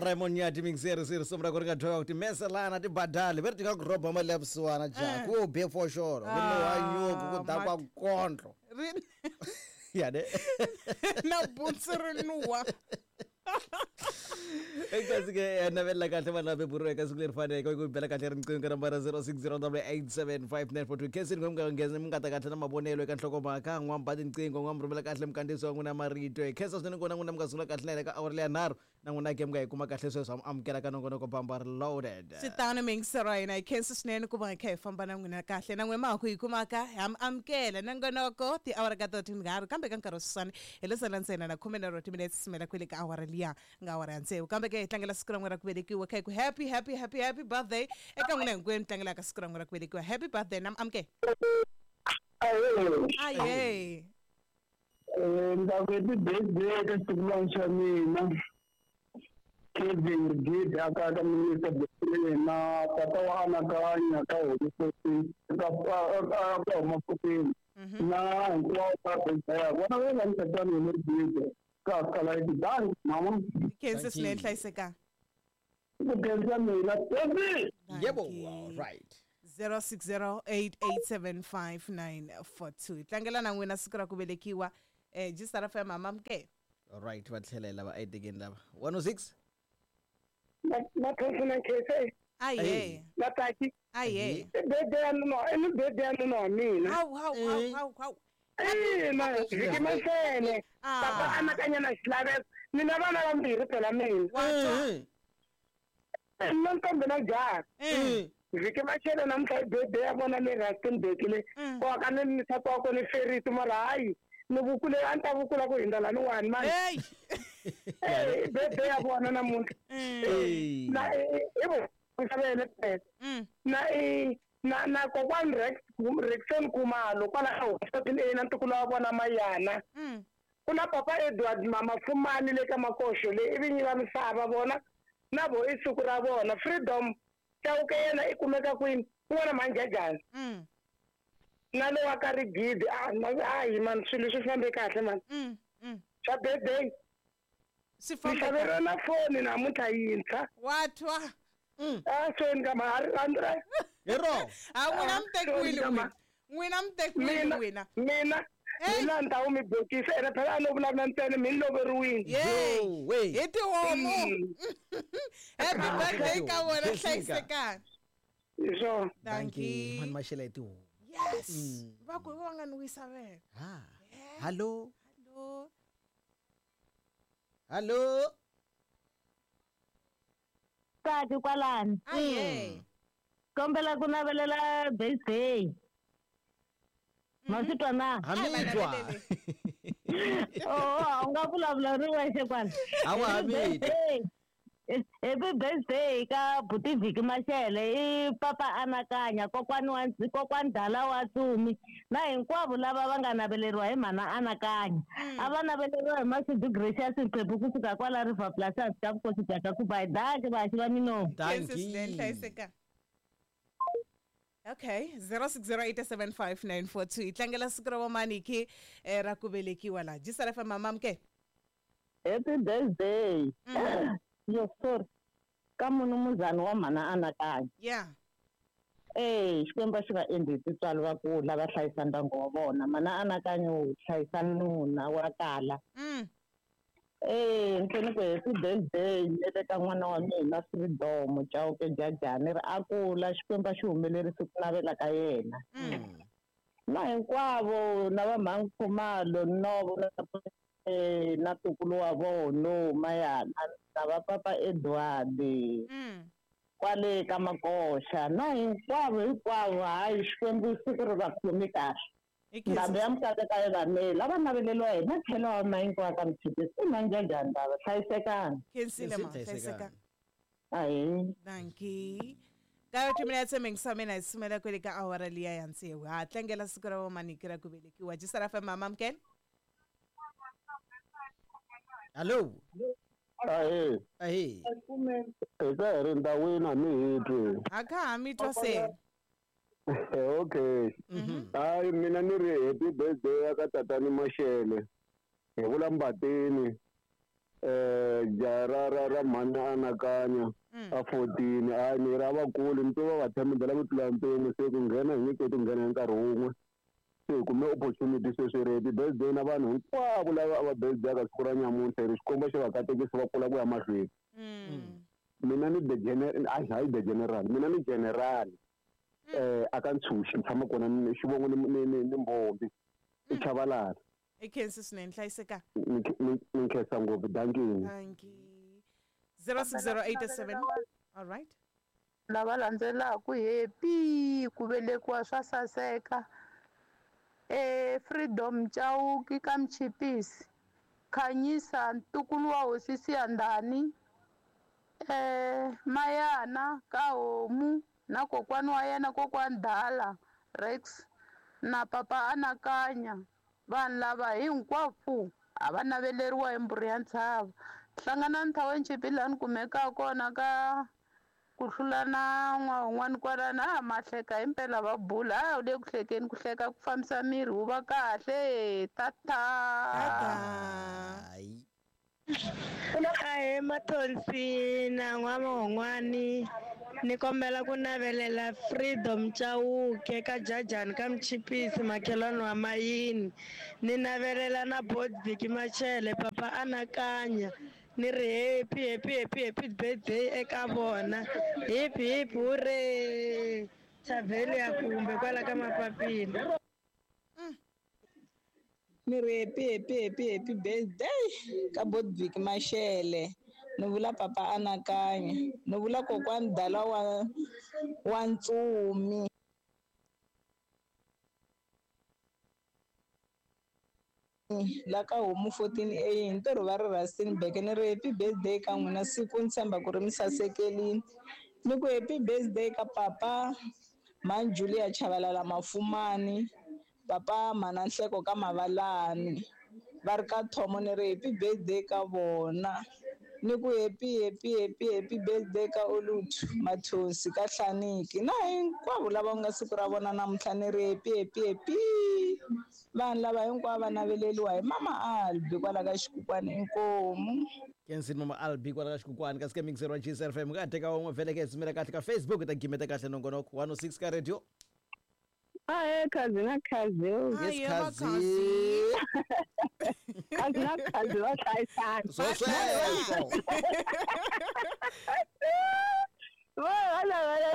Raymond Nyati mingiseri swi risimu ra ku ri nga dyoha ku timeselana ti badali ve ri ti nga ku rhoba mali ya vusiwana ja ku be foxolo ku nuha nyuku ku dakwa kondlo ya ne na buntsu ri nuha. Kasi ke navelela kahle vanhu lava beburiwa eka siku leri faneleke ku bela kahle riqingho ka nambara 0608875942 khensini mi nga nghena mi nga ta kahle na mavonelo eka nhlokomhaka n'wamba tinqingho n'wa mi rhumela kahle mikandziyiso wa n'wina marito. Hi khensa swinene kona n'wina mi nga sungula kahle na hina ka awara leya nharhu na n'wina ke mi nga yi kuma kahle sweswo amukela ka nongonoko bamba reloaded. Swi tano miyingisero wa hina, hi khensa swinene ku va hi kha hi famba na n'wina kahle na n'wina ma ha ku hi kumaka ha mi amukela nongonoko tiawara ka to tinharhu kambe ka nkarhi wa sweswiwani hi lo sala ntsena na khume nharhu wa timinetse sumela kwele ka awara liya nga awara ya tsevu kambe ke hi tlangela siku ra n'wina ra ku velekiwa kha hi ku happy happy happy happy birthday eka n'wina hinkwenu tlangelaka siku ra n'wina ra ku velekiwa. Happy birthday na mi amukela. Ahee. Ndza ku happy birthday eka xitukulwana xa mina Kevin Gidi aka ka minister Bethlehem na tata wa anakanya ka hosi ka ka huma pfukeni na hinkwavo ka birthday ya vona va nga tatana hi le Gidi ka kala yi danki mama. Khensa swinene, hlayisekanga. Ku khensa mina baby. Yebo, all right. 0608875942 hi tlangela na n'wina siku ra ku velekiwa Gistar FM amamukela. All right, va tlhelela va etekeni lava 106. Na khensa na khensa. Aye. Na taki. Aye. I birthday ya nuna, i birthday ya nuna wa mina. Hawu hawu hawu hawu hawu. Ina, vhiki masele. Papa anakanya na xilaveko. Mina vana vambirhi phela mina. Mina ntombi na jaha. Vhiki machele namuntlha i birthday ya vona le Rustenburg le. Ko ka ni nsati wa kona Feriti mara hayi ni vukule a ni ta vukula ku hindza laniwani mani. I birthday ya vona namuntlha. Na i vo xavele phela. Na i na na kokwani Rex Rexon Khumalo kwala ka hospital A na ntukulu wa vona Mayana. Ku na papa Edward mama Fumani le ka Makoxo le i vinyi va misava vona na vo i siku ra vona Freedom Chauke yena i kumeka kwini kun'wana Manjajana. Na lowa ka Rigidi a hi man swilo swi fambe kahle man. Swa birthday. Swi fambe. Xaveriwa na foni namuntlha yintshwa. Wa twa. A sweni ka ma Hi ro. A n'wina mi tekiwile n'wina. N'wina mi tekiwile n'wina. Mina mina ni ta wu mi bokisa ene phela a no vulavula ntsena mi ni loveriwile. Yey. Hi tihomu. Happy birthday ka vona, hlayisekani. Hi swona. Dankie. Mani maxela hi tihomu. Yes. Va ku va nga ni wisa vena. Ha. Hallo. Hallo. Hallo. Tati kwalani. Aye. Kombela ku navelela birthday. Maswi twa na? Hamitwa. Oh, a u nga vulavula ri wexe kwala. Hawa hamitwa. Happy birthday ka buti Vhiki Mashele i papa anakanya kokwani wa kokwani Dala wa Tsumi na hinkwavo lava va nga naveleriwa hi mhana anakanya. A va naveleriwa hi Mashudu Gracious Mphephu kusuka kwala River Plus hansi ka vukosi bya ka Kubai. Dankie vaxi va minomu. Khensa hlayiseka. Okay, 0608759442 hi tlangela siku ra vamaniki ra ku velekiwa laha Gisar FM mamamke. Happy birthday. Yo sorry. Ka munumuzana wa mhana anakanya. Yeah. Xikwembu xi va endli tintswalo va kula va hlayisa ndyangu wa vona. Mhana anakanya u hlayisa nuna wa kala. Ntsena ku happy birthday le ka n'wana wa mina Freedom Chauke Jajani ri a kula Xikwembu xi humelerise ku navela ka yena. Na hinkwavo na va mhani Khumalo Novo na ntukulu wa vona Mayana na va papa Edward kwale ka Makoxa na hinkwavo hinkwavo hayi Xikwembu siku ri va khomi kahle. Ndhambi ya mukata ka yona lava naveleriwa hi matlhelo wa mahinkwavo ka mtshikisi i Manjajani lava hlayisekani. Khensile ma hlayisekani. Ahi. Dankie. Ka timinetse mingisamena hi sumela kwele ka awara liya ya tsevu. Ha tlangela siku ra vamaniki ra ku velekiwa. Gisar FM mamamukela. Hallo. Ahe. Ahe. Hi ka hi ri ndhawini a mi hi twi. A ka ha mi twa se. Okay. Hayi mina ni ri happy birthday ya ka tatani Mashele. Hi vula Mbatini. Jaha ra mhani anakanya a 14 a ni ra vakulu ni twa va themendela ku tlula mpimo se ku nghena hi nge koti ku nghena hi nkarhi wun'we se hi kume opportunity sweswi ri happy birthday na vanhu hinkwavo lava a va birthday ka siku ra nyamuntlha ri xikombo xi va katekisi va kula ku ya mahlweni. Mina ni the general, hayi the general, mina ni general a ka Ntshuxi ni tshama kona ni xivongo ni Mbombi i Chavalala. I khensi swinene, hlayiseka. Ni nkhensa ngopfu, dankie. Dankie. 06087. All right. Lava landzelaka happy ku velekiwa swa saseka. Freedom Chauke ka Mchipisi. Khanyisa ntukulu wa hosi Siyandhani. Mayana ka Homu na kokwani wa yena kokwani Dala Rex na papa Anakanya. Vanhu lava hinkwavo a va naveleriwa hi mbhuri ya ntshava. Hlangana Nthawenchipi laha ni kumekaka kona ka ku hlula na n'wan'wana kwalano a mahleka himpela va bula a wu le ku hlekeni ku hleka ku fambisa miri wu va kahle tata. Ahe Mathonsi na n'wamahon'wani ni kombela ku navelela Freedom Chauke ka Jajani ka Mchipisi makhelwani wa Mayini ni navelela na Bodviki Machele papa Anakanya ni ri happy happy happy happy birthday eka vona hip hip hooray Chaveli ya kumbe kwala ka Mapapila. Ni ri happy happy happy happy birthday ka Bodviki Machele ni vula papa Anakanya ni vula kokwani Dala wa Ntsumi. La ka Homu 14A hi ntirho va ri Rustenburg ni ri happy birthday ka n'wina siku ni tshemba ku ri mi sasekelini ni ku happy birthday ka papa Mhani Julia Chavalala Mafumani papa Mhana Nhleko ka Mavalani va ri ka Thomo ni ri happy birthday ka vona ni ku happy happy happy happy birthday ka Oluthu Mathonsi ka Hlaniki na hinkwavo lava nga siku ra vona namuntlha ni ri happy happy happy vanhu lava hinkwavo va naveleriwa hi Mama Albi kwala ka Xikukwani inkomu. Kensini Mama Albi kwala ka Xikukwani kasi ka mixer wa GCR FM ka teka wun'we vhele ke sumela kahle ka Facebook ta gimeta kahle nongonoko 106 ka radio. Ahe khazi na khazi. Yes khazi. Khazi na khazi va hlayisana. Sweswo. Va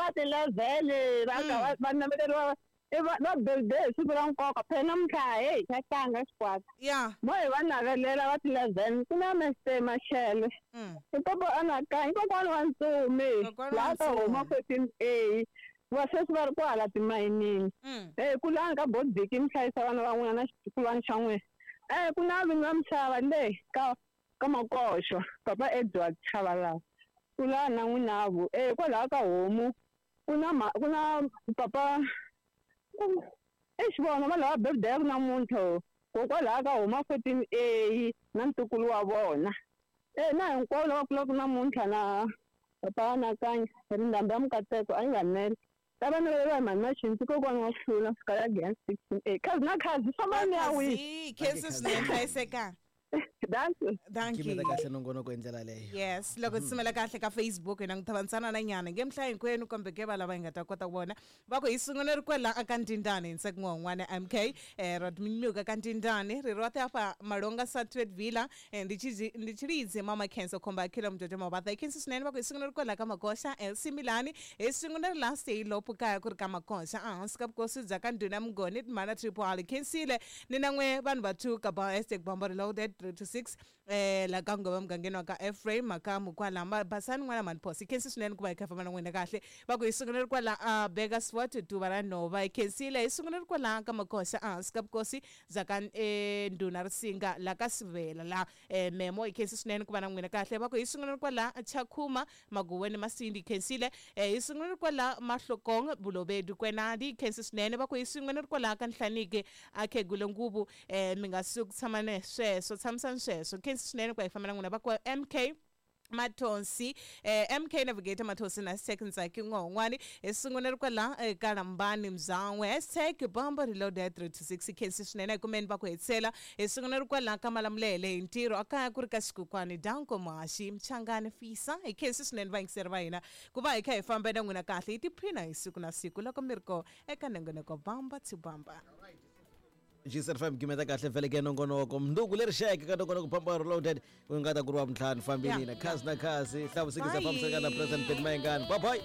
va ti-level va va naveleriwa va birthday siku ra nkoka phela namuntlha hey xa tlanga xikwata. Yeah. Mo hi va navelela va ti-11 ku na Mr Machele. I papa Anakanya kokwani wa Ntsumi laha ka Homa 14A. Va sweswi va ri kwala timayinini. Ku lani ka Bodviki mi hlayisa vana va n'wina na xitukulwana xa n'wina. Ku na vinyi va misava le ka Makoxo papa Edward Chavalala ku la na n'winavo. Kwalaho ka Homu ku na papa exivona va lava birthday ya ku namuntlha kokwalaho ka Homa 14A na ntukulu wa vona. Na hinkwavo lava kulaka namuntlha na papa Anakanya ri ndhambi ya Mukateko a yi nga nele. Lava naveleriwa hi Mhani Maxinzi kokwani wa hlula fika ya Giyani 16A. Khazi na khazi famba ni ya wihi. Khensi swinene hlayiseka. Dankie. Dankie. Gimeta kahle nongonoko hi ndlela leyo. Yes, loko tsimela kahle ka Facebook hi langutavansana na nyana nge mhla hinkwenu kumbe ke va lava hi nga ta kota ku vona va ku hi sungule ri kwela aka Ndindani hi Ntseko N'wan'wana MK Rodminyuka ka Ndindani ri roṱhe afha Malonga Satwet Villa ndi Tshilidzi Mama Kenzo Khomba Khila Mjojo Mabatha Khensi swinene va ku hi sungule ri kwela ka Makoxa LC Milani hi sungule ri la Seyilophu kaya ku ri ka Makoxa ehansi ka vukosi bya ka Ndhuna Mngoni Timhana Triple R Khensile ni na n'we vanhu va two ka ba hashtag Bamba Reloaded 326 la ka ngoma mugangeni wa ka Ephraim Makamu kwala Basani n'wana Manphosi Khensi swinene ku va hi kha famba na n'wina kahle va ku hi sungule ri kwala Burgersfort Tuva ra Nhova hi khensile hi sungule ri kwala ka Makoxa ehansi ka vukosi bya ka Ndhuna Risinga la ka Sivela la Memo hi khensi swinene ku va na n'wina kahle va ku hi sungule ri kwala Chakhuma Maguweni Masindi khensile hi sungule ri kwala Mahlokong Bulobedu Kwenadi khensi swinene va ku hi sungule ri kwala ka Nhlaniki a Khegule Nguvu mi nga suki tshama ne sweswo tshamisani sweswo khensi swinene ku va hi famba na n'wina va ku MK Mathonsi, MK Navigator Mathonsi na #Ntsaki N'wahun'wani hi sungula ri kwala eka Lambani Mzan'we #BambaReloaded 326. Khensi swinene kumeni va ku hetisela hi sungula ri kwala ka Malamulele hi ntirho a kaya ku ri ka Xikukwani Danko Muhaxi Mchangani Fisa. Hi khensi swinene vayingiseri va hina ku va hi kha hi famba na n'wina kahle hi tiphina hi siku na siku loko mi ri ko eka nongonoko Bamba to Bamba. G75 gimeta kahle vhele ke nongonoko mnduku leri xeke ka nongonoko Bamba Reloaded ku nga ta ku ri wa vuntlhanu fambini na khasi na khasi hlavusikisa fambisaka na President Ben Mayengani. Bye bye.